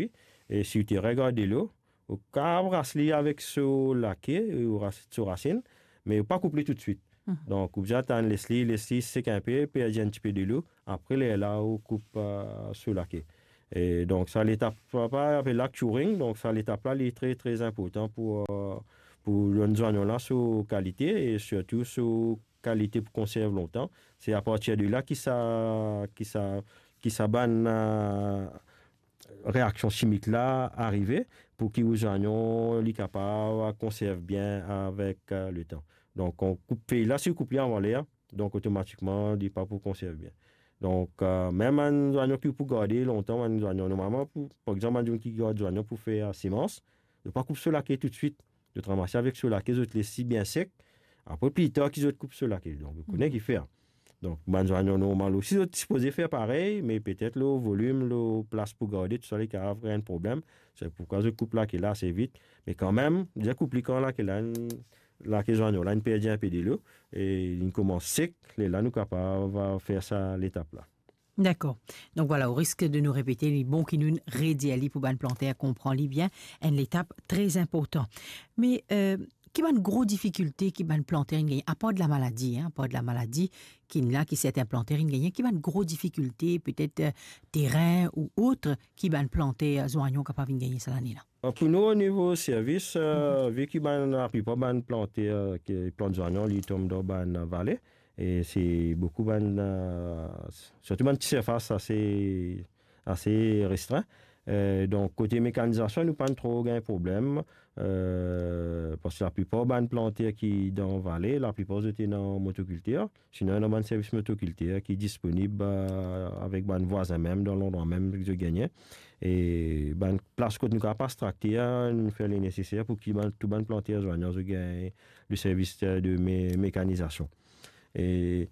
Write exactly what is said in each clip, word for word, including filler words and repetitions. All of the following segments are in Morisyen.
e si ou ti regard delo, ou kapav ras li avek so lake, ou ras, so rasinn, me ou pa koup li toutswit. Mhm. Donk, ou bizin atann, les li, les li sek inpe, perdi enn tipe delo, apre lerla ou koup, eh, so lake. E donk, sa letap, pa, pa apel la curing, donk sa letap la, li tre, tre inportan pou, eh, pou donn zwanyon la so kalite e sirtou so kalite pou konserv lontan. Se apartir de la ki sa, ki sa, ki sa bann, eh, reaksion simik la arive pou ki ou zwanyon li kapav konserv bien avek, eh, letan. Donk, ou koup fey la, si ou koup li avan ler, donk otomatikman, li pa pou konserv bien. Donk, eh, mem bann zwanyon ki pou garde lontan, bann zwanyon normalman, pou, par exanp, bann dimoun ki gard zwanyon pou fer, eh, semans, zot pa koup so lake toutswit. Zot ranmas avek so lake, zot les li bien sek. Apre, pli tar ki zot koup so lake. Donk, ou kone ki fer. Donk, bann zwanyon normal osi, zot sipoze fer parey, me petet lor volim, lor plas pou garde, tou sa, li kapav kree enn problem. Se poukwa zot koup lake la ase vit. Me kanmem, deza koup li kan lake la, lake zwanyon la, li perdi inpe delo, e li koumans sek, lerla nou kapav, eh, fer sa letap la. Dakor. Donk vwala, o risk de nou repete, li bon ki nou redir li pou bann planter konpran li bien, enn letap tre inportan. Me, eh, ki bann gro difikilte ki bann planter inn gagne, apar de lamaladi, hein, apar de lamaladi ki inn la, ki sertin planter inn gagne, ki bann gro difikilte, petet, eh, terin ou ot, ki bann planter zwanyon kapav inn gagne sa lane la? Pou nou, o nivo servis, eh, vi ki bann, laplipar bann planter, eh, ki plant zwanyon, li tom dan bann vale, e se boukou bann, eh, sirtou bann ti sirfas ase, ase restrin. Eh, donk, kote mekanizasion, nou pa'nn tro gagn problem, eh, parski laplipar bann planter ki dan vale, laplipar zot ena motokultir. Sinon, ena bann servis motokultir ki disponib, eh, avek bann vwazin mem, dan landrwa mem ki zot gagne. E bann plas kot nou kapav pas trakter, nou fer le neseser pou ki bann, tou bann planter zwanyon, zot gagn le servis, eh, de me-, mekanizasion. E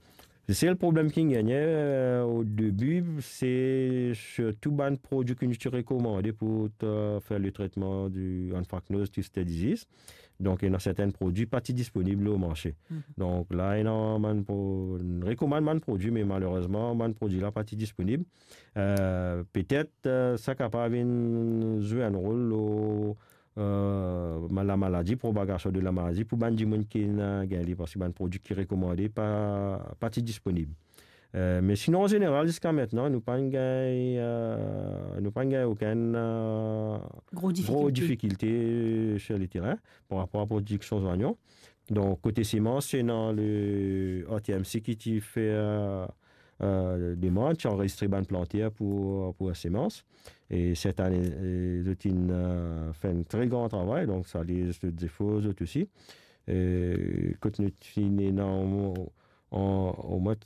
sel problem ki gagne, eh, o debi, se sirtou bann prodwi ki nou ti rekomande pou, eh, fer le tretman di anthracnose twisted disease. Donk, ena sertin prodwi pa ti disponib lor marse. Mhm. Donk, la, ena bann pro-, rekomann bann prodwi, me malerezman, bann prodwi la pa ti disponib. Eh, petet, eh, sa kapav vinn zwe enn rol lor, eh, ma-, lamaladi, propagation de lamaladi pou bann dimoun ki ena gagn li, parski bann prodwi ki rekomande pa, pa ti disponib. Eh, me sinon, an zeneral, ziska aster, nou pa'nn gagn, eh, nou pa'nn gagn okenn, eh, gro difikilte, gro difikilte sir leterin par rapor a prodiksion zwanyon. Donk, kote semans, se ena le R T M C ki ti fer, eh, eh, demann, ti anrezistre bann planter pou, pou semans. E set ane, eh, zot inn, eh, fer enn tre gran travay, donk sa, li, zot zefor, zot osi. E kot nou ti ena an, an, omwin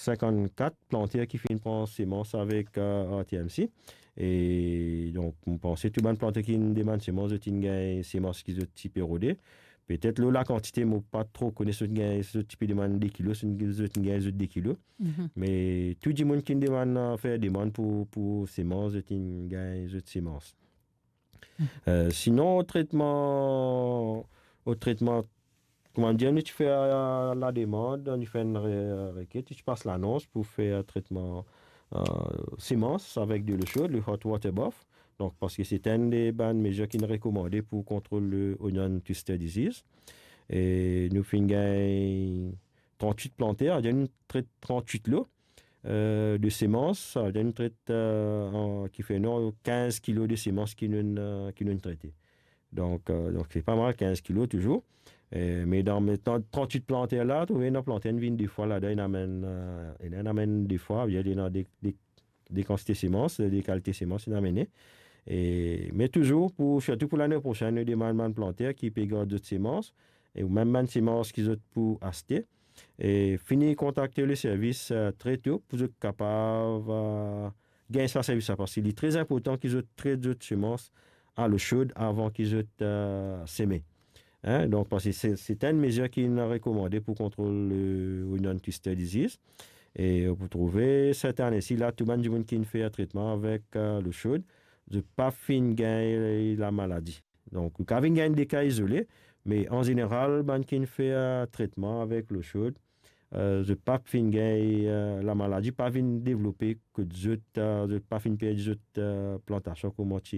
sinkannkat planter ki finn pran semans avek, eh, R T M C. E donk, mo panse tou bann planter ki inn demann semans, zot inn gagn semans ki zot ti pe rode. Petet lor lakantite, mo pa tro kone si zot gagn, si zot ti pe demann de kilo, si zot gagn zot de kilo. Mhm. Me tou dimoun ki inn demann, eh, fer demann pou, pou semans, zot inn gagn zot semans. Mhm. Eh, sinon, o tretman, o tretman, kouma dir, nou ti fer, eh, lademann, nou fer enn re-, reket, nou ti pas lanons pou fer tretman, eh, semans avek delo sod, le hot water bath. Donk, parski se enn de bann mezir ki inn rekomande pou kontrol le onion twister disease. E nou finn gagn trantwit planter, nou tret trantwit lo, eh, de semans, sa vedir nou tret, eh, an, ki fer nou kinz kilo de semans ki nou, eh, ki nou trete. Donk, eh, donk se pa mal, kinz kilo touzour. Eh, me dan, me dan trantwit planter la, trouve ena planter inn vinn de fwa ladan, inn amenn, eh, inn amenn de fwa, inn amenn de, de de kantite semans, de kalite semans inn amene. E, me touzour, pou, sirtou pou lane prosenn, nou demann bann planter ki pe gard zot semans, e ou mem bann semans ki zot pou aste, e fini kontakte le servis, eh, tre to pou zot kapav, eh, gagn sa servis la, parski li tre inportan ki zot tret zot semans a lo sod avan ki zot, eh, seme. Hein, donk, parski se, se enn mezir ki inn rekomande pou kontrol, eh, onion twister disease. E ou pou trouve, set ane-si la, tou bann dimoun ki inn fer tretman avek, eh, lo sod, zot pa finn gagn lamaladi. Donk, ou kapav vinn gagn de ka izole, me an zeneral, bann ki inn fer, eh, tretman avek lo sod, eh, zot pa finn gagn, eh, lamaladi, pa vinn devlope kot zot, eh, zot pa finn perdi zot, eh, plantasion kouma ti